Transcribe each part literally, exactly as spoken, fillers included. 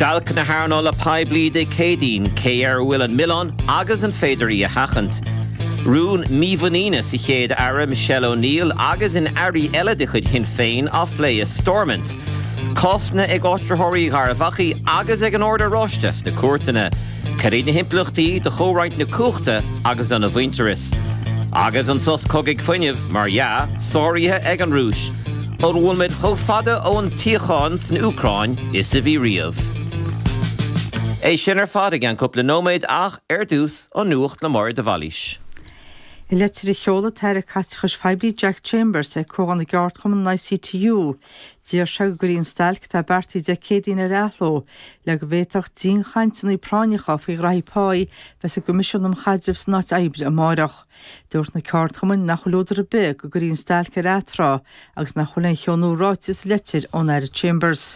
Stailc na hearnála poiblí Dé Céadaoin cé air a bhfuil an milleán agus an féidir í a sheachaint. Rún mímhuiníne sa chéad aire Michelle O'Neill agus in airí eile de chuid Shinn Féin á phlé i Stormont. Cásanna ag áitritheoirí Gharbh Achaidh agus ag an Ord Oráisteach sna cúirteanna. Cad iad na himpleachtaí do chomhroinnt na cumhachta agus don mhuintearas. Agus an sos cogaidh fuinnimh mar dhea sáraithe ag an Rúis. An bhfuil muid chomh fada ón tsíocháin san Úcráin is a bhí riamh. É sin ar fad i gceann cúpla nóiméad ach ar dtús an nuacht le Máire de Bhailís. I leitir a sheol an tAire Caiteachais Phoiblí Jack Chambers ag Comhdháil na gCeardchumann an ICTU, D'iarr sé go gcuirfí an stailc atá beartaithe Dé Céadaoin ar athló, le go bhféadfadh dianchainteanna práinneacha faoi ghraithí pá bheith sa gCoimisiún um Chaidreamh san Áit Oibre amárach. Dúirt na ceardchumainn nach bhfuil údar ar bith go gcuirfí an stailc ar atráth agus nach bhfuil aon cheo nua ráite sa leitir ón Aire Chambers.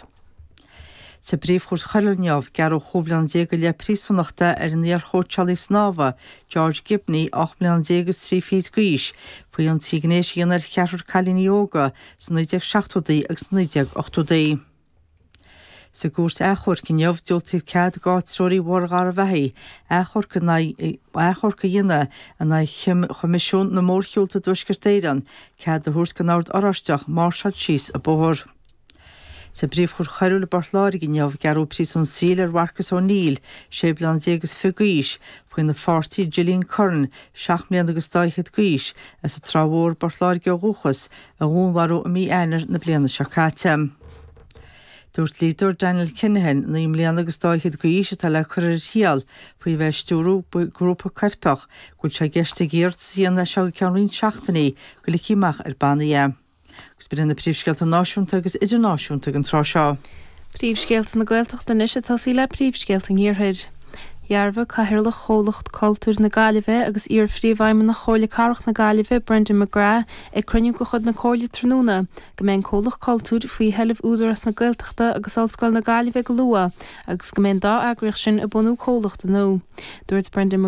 Sa bPríomhchúirt Choiriúil inniu, gearradh chúig bhliana déag go leith príosúnachta ar an iarchóitseálaí snámha, George Gibney, ocht mbliana déag agus trí fichid d'aois, faoi ionsaí gnéis a dhéanamh ar cheathrar cailíní óga sna naoi déag seachtóidí agus naoi déag ochtóidí. Sa gcúirt achomhairc inniu, diúltaíodh cead d'áitritheoirí Bhóthar Gharbh Achaidh achomharc in aghaidh achomharc a dhéanamh in aghaidh Choimisiún na Mórshiúlta i dTuaisceart Éireann, cead a thabhairt don Ord Oráisteach máirseáil síos an bóthar. Sa bPríomhchúirt Choiriúil i bPort Láirge inniu, gearradh príosún saoil ar Mharcus O'Neill, sé bliana déag is fiche d'aois, faoina pháirtí Gillian Curran, seacht mbliana agus dá fhichead d'aois, as an Trá Mhór, Port Láirge ó dhúchas, a dhúnmharú i mí Eanáir na bliana seo caite. Dúirt dlíodóir Daniel Kinahan, naoi mbliana agus dá fhichead d'aois, atá le cur ar a thriail faoi bheith ag stiúradh grúpa coirpeach, go bhfuil sé i gceist aige iarratas a dhéanamh as seo go ceann roinnt seachtainí go ligfí amach ar bannaí é. Agus b'in na príomhscéalta náisiúnta agus idirnáisiúnta ag an tráth seo. Príomhscéalta na Gaeltachta anois ag tosaí le príomhscéalta an Iarthair. Dhearbhaigh Cathaoirleach Chomhlacht Cultúir na Gaillimhe agus iar-phríomhfheidhmeannach Chomhairle Cathrach na Gaillimhe Brendan McGrath ag cruinniú de chuid na Comhairle tráthnóna go mbeidh an comhlacht cultúir faoi sheilbh Údarás na Gaeltachta agus Ollscoil na Gaillimhe go luath agus go mbeidh an dá eagraíocht sin ag bunú comhlachta nua. Dúirt Brendan